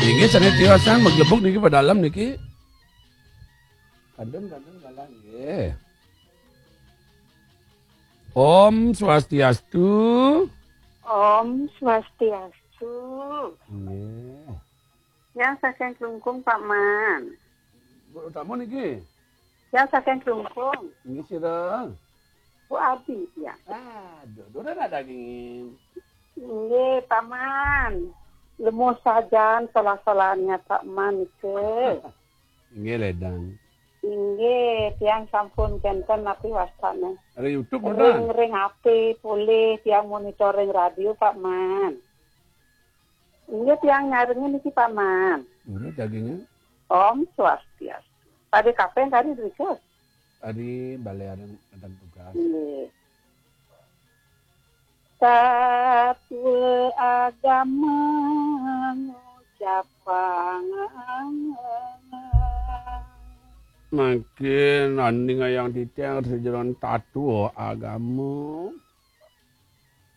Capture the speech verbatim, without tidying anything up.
Inggih, sané tiosan maglebug niki pedalem niki. Kadun, kadun, galah nggih. Om Swastiastu. Om Swastiastu. Nggih. Yang saking Klungkung, Pak Man. Bu Utama niki? Yang saking Klungkung. Nggih, sira? Bu Adi, ya. Aduh, durung ada dagingin. Nggih, Pak Man. Lemuh sajan solah-solahnya Pak Man niki. Nggih, ledang. Inggih, tiang sampun kenten napi wastane. Ada YouTube, ring, Pak Man? Ring H P polih, tiang monitoring radio, Pak Man. Inggih, tiang nyarengin niki, Pak Man. Nggih, dagingnya. Om Swastiastu. Pada kapan tadi berikut? Tadi balik ada, ada tugas. Nggih. Satwa agama ngucapang. Mangkin nanding ayang titiang sejeron tatwa agama.